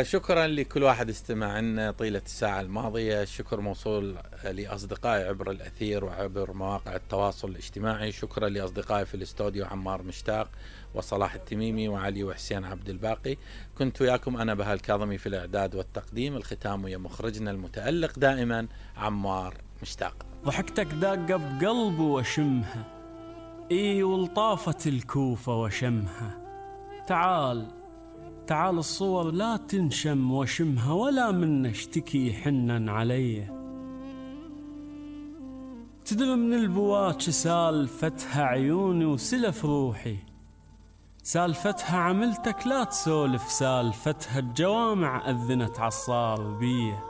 شكرا لكل واحد استمع لنا طيلة الساعة الماضية. الشكر موصول لأصدقائي عبر الأثير وعبر مواقع التواصل الاجتماعي. شكرا لأصدقائي في الاستوديو عمار مشتاق وصلاح التميمي وعلي وحسين عبد الباقي. كنت وياكم أنا بهاء الكاظمي في الإعداد والتقديم. الختام ويا مخرجنا المتألق دائما عمار مشتاق. ضحكتك داقة بقلبي وشمها، ولطافة الكوفة وشمها. تعال الصور لا تنشم وشمها، ولا من اشتكي حنن علي. تدري من البواج سالفتها عيوني وسلف روحي، سالفتها عملتك لا تسولف، سالفتها الجوامع أذنت عالصار بيه.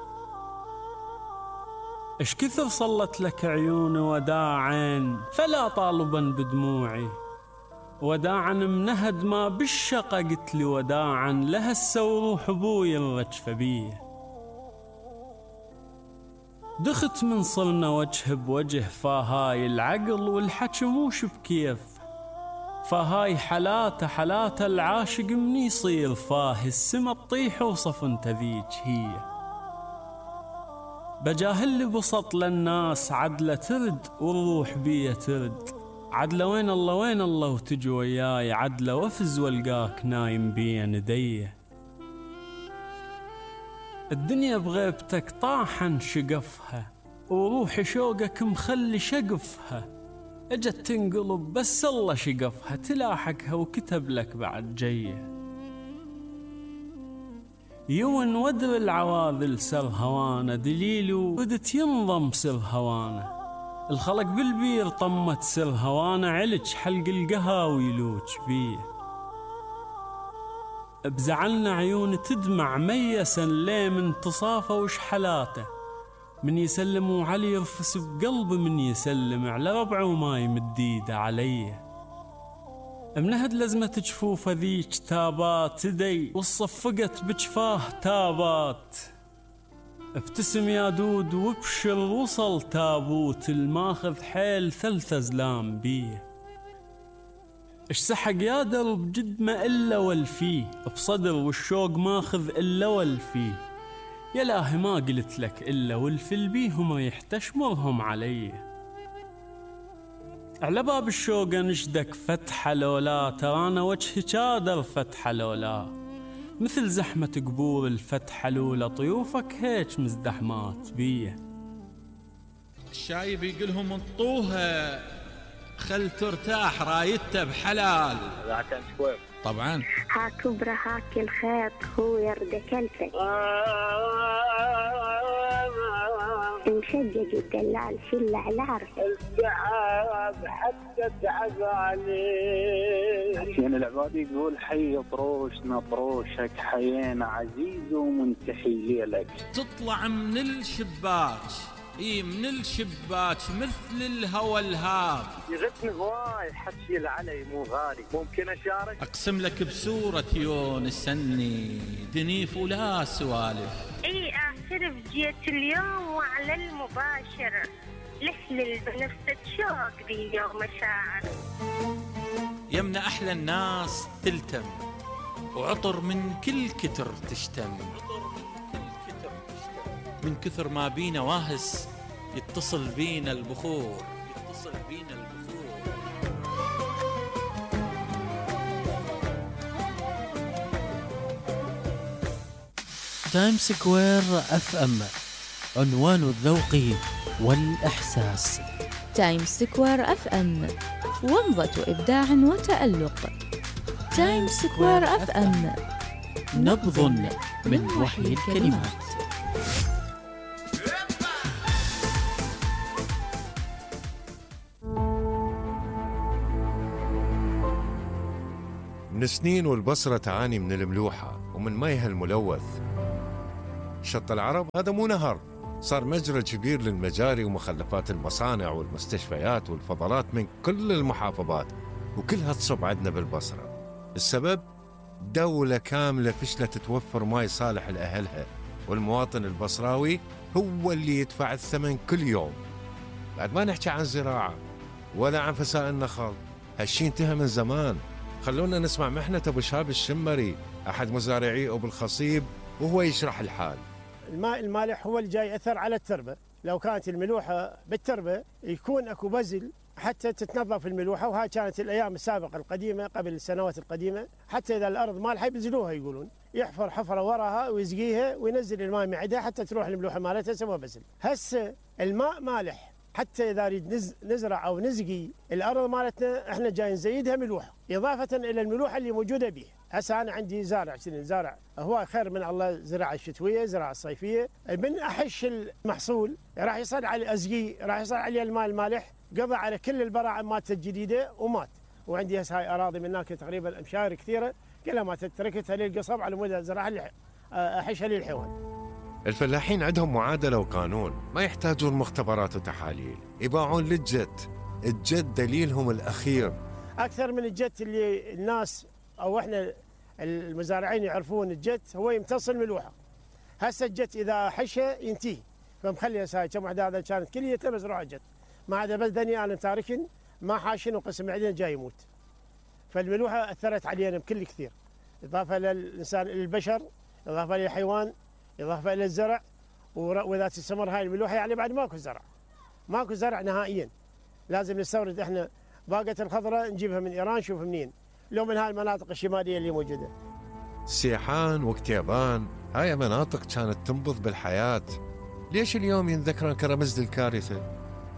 اش كثر صلت لك عيوني وداعين، فلا طالبا بدموعي. وداعا منهد ما بالشقة قلت لي وداعا، لها السوروح ابوي الرجفة بيه. دخت من صرنا وجه بوجه، فهاي العقل والحكي موش بكيف. فهاي حلاته العاشق من يصير فاه، السما تطيح وصف انت ذيك هي. بجاهل بسط للناس عدلة ترد، والروح بيه ترد. عدلة وين الله وتجي وياي، عدلة وافز والقاك نايم بين يديه. الدنيا بغيبتك طاحن شقفها، وروحي شوقك مخلي شقفها. اجت تنقلب بس الله شقفها، تلاحقها وكتب لك بعد جيه. يون ودر العواذل سر هوانا، دليلو بدت ينضم سر هوانا. الخلق بالبير طمت سر هوانا، علج حلق القهاوي لوج بيه. بزعلنا عيون تدمع ميسا ليه من تصافى وش حلاته. من يسلم وعلي يرفس بقلبي، من يسلم على ربعه وما يمد ايده عليه. منهد لزمة جفوفه ذيك تابات تدي، وصفقت بجفاه تابات. ابتسم يا دود وابشر وصل تابوت، الماخذ حيل 3 أزلام بيه. اش سحق يا درب جد ما إلا والفيه، بصدر والشوق ماخذ إلا والفيه. يا لاهي ما قلت لك إلا والفل بيه، وما يحتشمرهم علي. على باب الشوق نشدك فتحة لولا، ترانا وجهي جادر فتحة لولا. مثل زحمة قبور الفتحة لولا، طيوفك هيك مزدحمات بيه. الشايب يقولهم انطوها خل ترتاح، رايته بحلال. طبعا هاك كبرى هاك الخيط، هو يرد كلفك. مشجج الدلال شل على عرفك، السحاب حتى تعب عليك. يعني العباد يقول حي طروشنا طروشك، حيينا عزيز ومنتحي ليلك. تطلع من الشباك، من الشباك مثل الهوى الهاب. يغثني هواي حكي العلي مو غالي، ممكن اشارك؟ اقسم لك بسورة يون السني، دنيف ولا سوالف. اعترف جيت اليوم وعلى المباشر، لحلل بنفسك شوق ذي اليوم مشاعر. يمنا احلى الناس تلتم، وعطر من كل كتر تشتم. من كثر ما بينا واهس، يتصل بينا البخور. تايم سكوير اف ام، عنوان الذوق والإحساس. تايم سكوير اف ام، ومضة إبداع وتألق. تايم سكوير اف ام، نبض من وحي الكلمات. من سنين والبصرة تعاني من الملوحة ومن ميها الملوث. شط العرب هذا مو نهر، صار مجرى كبير للمجاري ومخلفات المصانع والمستشفيات والفضلات من كل المحافظات، وكلها تصب عندنا بالبصرة. السبب دولة كاملة فشلت توفر ماي صالح لأهلها، والمواطن البصراوي هو اللي يدفع الثمن كل يوم. بعد ما نحكي عن زراعة ولا عن فساد النخل، هالشي انتهى من زمان. خلونا نسمع محنة أبو شهاب الشمري، أحد مزارعي أبو الخصيب وهو يشرح الحال. الماء المالح هو اللي جاي يأثر على التربة. لو كانت الملوحة بالتربة يكون أكو بزل حتى تتنظف الملوحة، وهاي كانت الأيام السابقة القديمة قبل السنوات القديمة، حتى إذا الأرض مالحة يبزلوها، يقولون يحفر حفرة وراها ويسقيها وينزل الماء معدها حتى تروح الملوحة مالتها سوى بزل. هسه الماء مالح حتى إذا نريد نزرع أو نسقي الأرض مالتنا احنا جاي نزيدها ملوحة إضافة إلى الملوحة اللي موجودة بيها. هسه أنا عندي زارع زارع هو خير من الله، زراعة الشتوية زراعة الصيفية، من أحش المحصول راح يصير على أزقي، راح يصير عليه الماء المالح، قضى على كل البراعم مالته الجديدة ومات. وعندي هسه هاي أراضي من هناك تقريبا أمشار كثيرة كلها ما تركتها للقصب على مود زراعة أحشها للحيوان. الفلاحين عندهم معادلة وقانون، ما يحتاجون مختبرات وتحاليل، يباعون الجد دليلهم الأخير أكثر من الجد اللي الناس أو إحنا المزارعين يعرفون. الجد هو يمتص الملوحة. هسه الجد إذا حشة ينتهي، فمخلي هاي كم وحدة هذا كانت كليته مزروعة جد، ما عدا بس دني أنا تاركن ما حاشن وقسم عندنا جاي يموت. فالملوحة أثرت علينا بكل كثير، إضافة للإنسان للبشر، إضافة للحيوان، إضافة إلى الزرع. وإذا تستمر هاي الملوحة يعني بعد ماكو زرع نهائيا. لازم نستورد إحنا باقة الخضراء نجيبها من إيران، شوف منين، لو من هاي المناطق الشمالية اللي موجودة. سيحان وكتيبان هاي مناطق كانت تنبض بالحياة، ليش اليوم ينذكرن كرمز للكارثة؟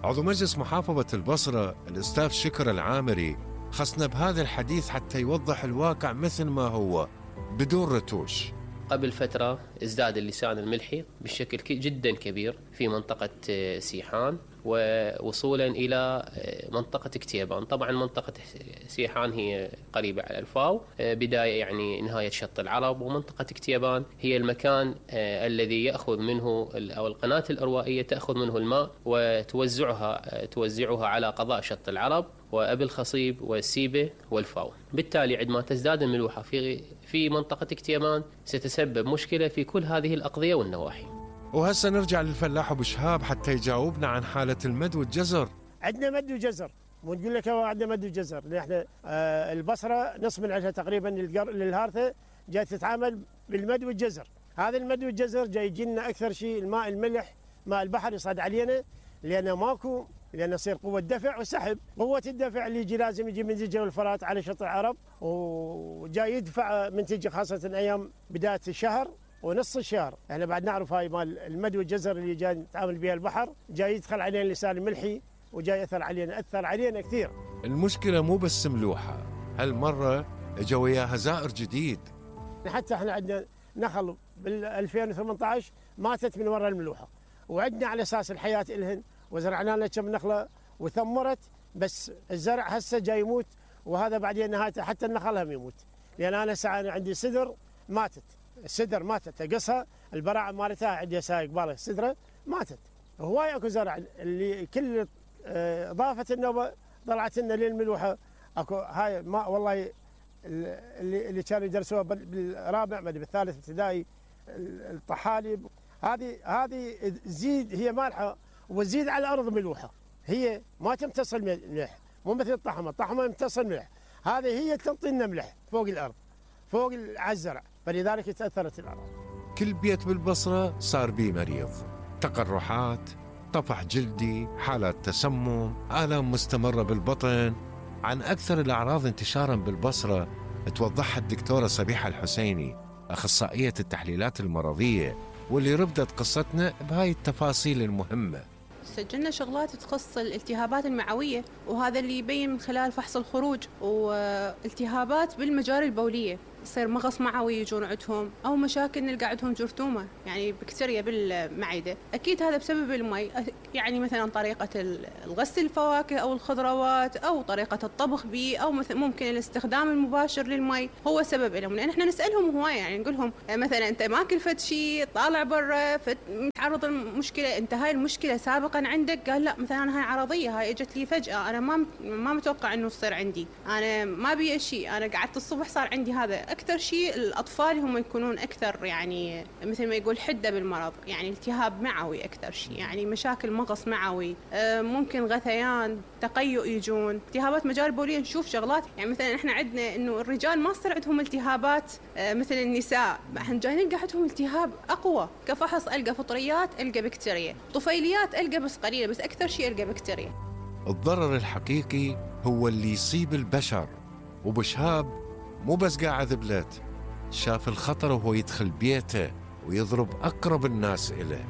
عضو مجلس محافظة البصرة الأستاذ شكر العامري خصنا بهذا الحديث حتى يوضح الواقع مثل ما هو بدون رتوش. قبل فترة ازداد اللسان الملحي بشكل جدا كبير في منطقة سيحان ووصولا إلى منطقة كتيبان. طبعا منطقة سيحان هي قريبة على الفاو، بداية يعني نهاية شط العرب، ومنطقة كتيبان هي المكان الذي يأخذ منه أو القناة الأروائية تأخذ منه الماء وتوزعها على قضاء شط العرب وأبي الخصيب والسيبة والفاو. بالتالي عندما تزداد الملوحة في منطقة كتيبان ستسبب مشكلة في كل هذه الأقضية والنواحي. وهسه نرجع للفلاح أبو شهاب حتى يجاوبنا عن حالة المد والجزر. عندنا مد وجزر، ونقول لك عندنا مد وجزر، لأن احنا البصرة نص من عندها تقريبا للهارثة جاي تتعامل بالمد والجزر. هذا المد والجزر جاي يجينا أكثر شيء الماء الملح، ماء البحر يصعد علينا، لأن يصير قوة دفع وسحب. قوة الدفع اللي يجي لازم يجي من دجلة والفرات على شط العرب، وجاي يدفع من تجي خاصة أيام بداية الشهر ونص الشهر. احنا بعد نعرف هاي مال المد والجزر اللي جاي نتعامل بها البحر، جاي يدخل علينا اللسان الملحي وجاي أثر علينا كثير. المشكلة مو بس ملوحة، هالمرة اجا وياها زائر جديد. حتى احنا عندنا نخل بال 2018 ماتت من وراء الملوحة، وعندنا على أساس الحياة إلهن وزرعنا لنا كم نخلة وثمرت، بس الزرع هسه جاي يموت، وهذا بعدين نهايته حتى النخل هم يموت. لأن أنا ساعة عندي سدر ماتت، السدر ماتت أقصها البراعم مالتها عندي سايق بالغ السدرة ماتت. هواي اكو زرع اللي كل اضافه النوبه طلعت لنا للملوحه. اكو هاي ما والله اللي كانوا يدرسوها بالرابع ما بالثالث ابتدائي، الطحالب هذه تزيد، هي مالحه وتزيد على الارض ملوحه، هي ما تمتص الملح، مو مثل الطحمه يمتص الملح، هذه هي تنطي لنا ملح فوق الارض فوق على الزرع، فلذلك تاثرت الارض. كل بيت بالبصره صار بيه مريض، تقرحات، طفح جلدي، حالات تسمم، آلام مستمرة بالبطن. عن أكثر الأعراض انتشاراً بالبصرة توضحها الدكتورة صبيحة الحسيني، أخصائية التحليلات المرضية، واللي ربدت قصتنا بهاي التفاصيل المهمة. سجلنا شغلات تخص الالتهابات المعوية، وهذا اللي يبين من خلال فحص الخروج، والتهابات بالمجاري البولية، يصير مغص معوي يجون عندهم، أو مشاكل نلقى عندهم جرثومة يعني بكتيريا بالمعدة. أكيد هذا بسبب المي، يعني مثلا طريقة الغسل الفواكه أو الخضروات، أو طريقة الطبخ به، أو ممكن الاستخدام المباشر للمي هو سبب لهم. لأن احنا نسألهم هواية، يعني نقول لهم مثلا أنت ماكل فد شيء، طالع برا متعرض لمشكلة، أنت هاي المشكلة سابقا عندك؟ قال لا، مثلا أنا هاي عرضية، هاي اجت لي فجأة، أنا ما متوقع إنه تصير عندي، أنا ما بي شيء، أنا قعدت الصبح صار عندي هذا. أكثر شيء الأطفال هم يكونون أكثر يعني مثل ما يقول حدة بالمرض، يعني التهاب معوي أكثر شيء، يعني مشاكل مغص معوي، ممكن غثيان، تقيؤ يجون، التهابات مجاري البولية. نشوف شغلات يعني مثلا احنا عندنا انه الرجال ما صار عندهم التهابات مثل النساء، احنا جاي نلقى عندهم التهاب اقوى، كفحص القى فطريات القى بكتيريا، طفيليات القى بس قليله، بس اكثر شيء القى بكتيريا. الضرر الحقيقي هو اللي يصيب البشر، وبشهاب مو بس قاعد بلاد، شاف الخطر وهو يدخل بيته ويضرب اقرب الناس إليه،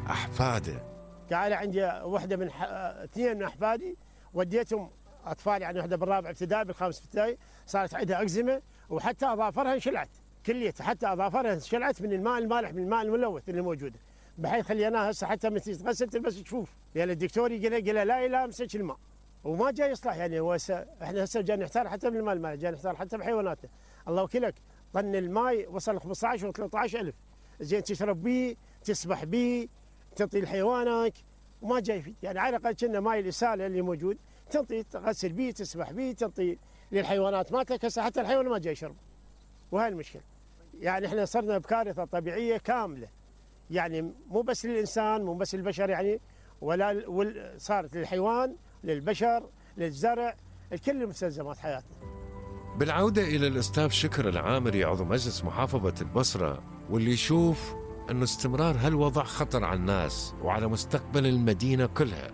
احفاده. قاعد عندي وحده من اثنين من احفادي وديتهم اطفال، يعني وحده بالرابع ابتدائي بالخامس ابتدائي صارت عندها اكزيما، وحتى اظافرها انشلعت كليتها، حتى اظافرها انشلعت من الماء المالح، من الماء الملوث اللي موجوده، بحيث خليناها هسه حتى من تتغسل تلبس جفوف، لان الدكتور قال لا يلامسك الماء وما جاي يصلح. يعني هو احنا هسه جاي نحتار حتى بالماء المالح، جاي نحتار حتى بحيواناتنا. الله وكيلك طن الماء وصل 15 و 13,000، زين تشرب بيه، تسبح بيه، تعطي لحيوانك وما جاي فيه. يعني على الاقل كنا ماي الاساله اللي موجود تنطي تغسل بيه، تسبح بيه، تنطي للحيوانات مالتك. هسه حتى الحيوان ما جاي يشرب، وهي المشكله. يعني احنا صرنا بكارثه طبيعيه كامله، يعني مو بس للانسان، مو بس للبشر، يعني ولا صارت للحيوان، للبشر، للزرع، الكل مستلزمات حياتنا. بالعوده الى الاستاذ شكر العامري عضو مجلس محافظه البصره، واللي يشوف أنه استمرار هالوضع خطر على الناس وعلى مستقبل المدينة كلها،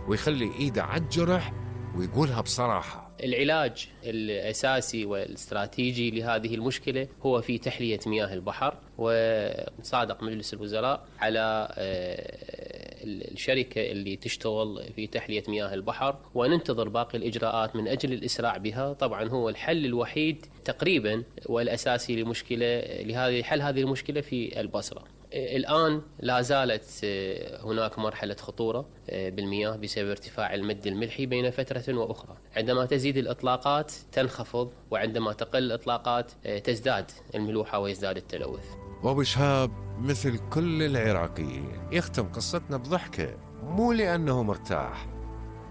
ويخلي إيده على الجرح ويقولها بصراحة. العلاج الأساسي والاستراتيجي لهذه المشكلة هو في تحلية مياه البحر، وصادق مجلس الوزراء على الشركة اللي تشتغل في تحلية مياه البحر، وننتظر باقي الإجراءات من أجل الإسراع بها. طبعا هو الحل الوحيد تقريبا والأساسي لحل هذه المشكلة في البصرة. الآن لا زالت هناك مرحلة خطورة بالمياه بسبب ارتفاع المد الملحي بين فترة وأخرى. عندما تزيد الإطلاقات تنخفض، وعندما تقل الإطلاقات تزداد الملوحة ويزداد التلوث. وبشهاب مثل كل العراقيين يختم قصتنا بضحكة، مو لأنه مرتاح،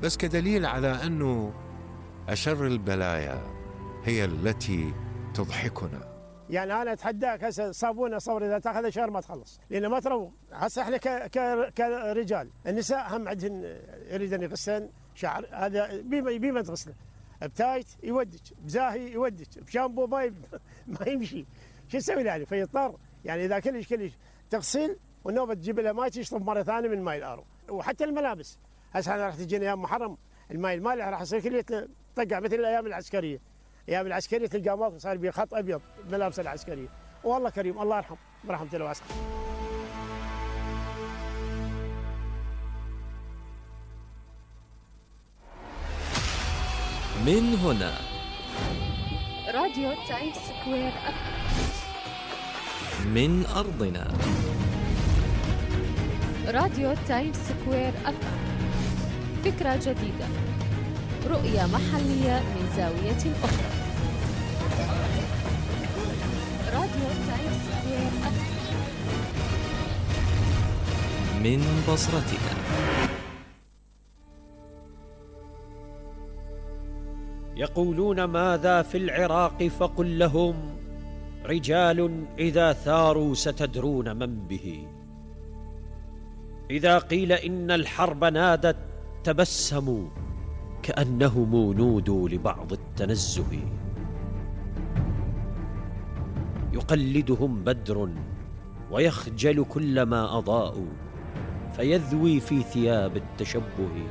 بس كدليل على أنه أشر البلايا هي التي تضحكنا. يعني انا اتحداك هسه صابونه صور اذا تاخذ شهر ما تخلص، لانه ما تروق. هسه احنا كرجال، النساء هم عندهن يريدن يغسلن شعر، هذا بما تغسله بتايت يودج، بزاهي يودج، بشامبو ما يمشي، شو يسوي له يعني؟ فيضطر يعني اذا كلش تغسل والنوبه تجيب لها ماء تشرب مره ثانيه من ماء الارو. وحتى الملابس هسه احنا راح تجينا ايام محرم، الماء المالح راح يصير كله طقع مثل الايام العسكريه. ايام العسكريه تلقى ماكو صار بيه خط ابيض ملابس العسكريه. والله كريم، الله يرحم برحمته الواسعه. من هنا راديو تايمز سكوير من أرضنا راديو تايمز سكوير أفهم، فكرة جديدة، رؤية محلية من زاوية أخرى. راديو تايمز سكوير أفهم من بصرتنا. يقولون ماذا في العراق فقل لهم رجال إذا ثاروا ستدرون من به. إذا قيل إن الحرب نادت تبسموا كأنهم نودوا لبعض التنزه. يقلدهم بدر ويخجل كلما أضاءوا، فيذوي في ثياب التشبه.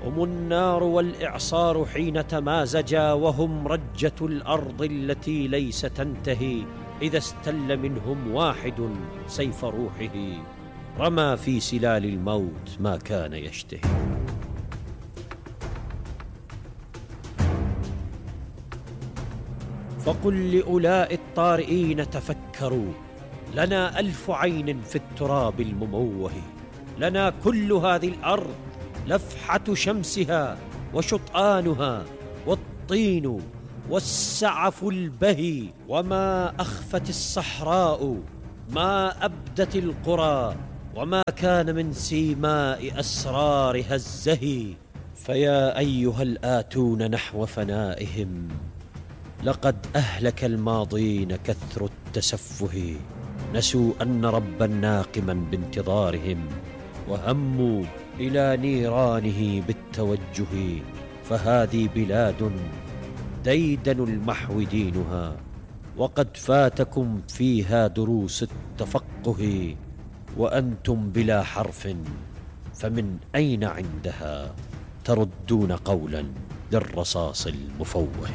هم النار والإعصار حين تمازجا، وهم رجة الأرض التي ليس تنتهي. إذا استل منهم واحد سيف روحه، رمى في سلال الموت ما كان يشتهي. فقل لأولاء الطارئين تفكروا، لنا 1000 عين في التراب المموه. لنا كل هذه الأرض، لفحة شمسها وشطآنها والطين والسعف البهي. وما أخفت الصحراء، ما أبدت القرى، وما كان من سيماء أسرارها الزهي. فيا أيها الآتون نحو فنائهم، لقد أهلك الماضين كثر التسفه، نسوا أن ربا ناقما بانتظارهم، وهموا إلى نيرانه بالتوجه. فهذه بلاد ديدن المحو دينها، وقد فاتكم فيها دروس التفقه، وأنتم بلا حرف، فمن أين عندها تردون قولا للرصاص المفوه؟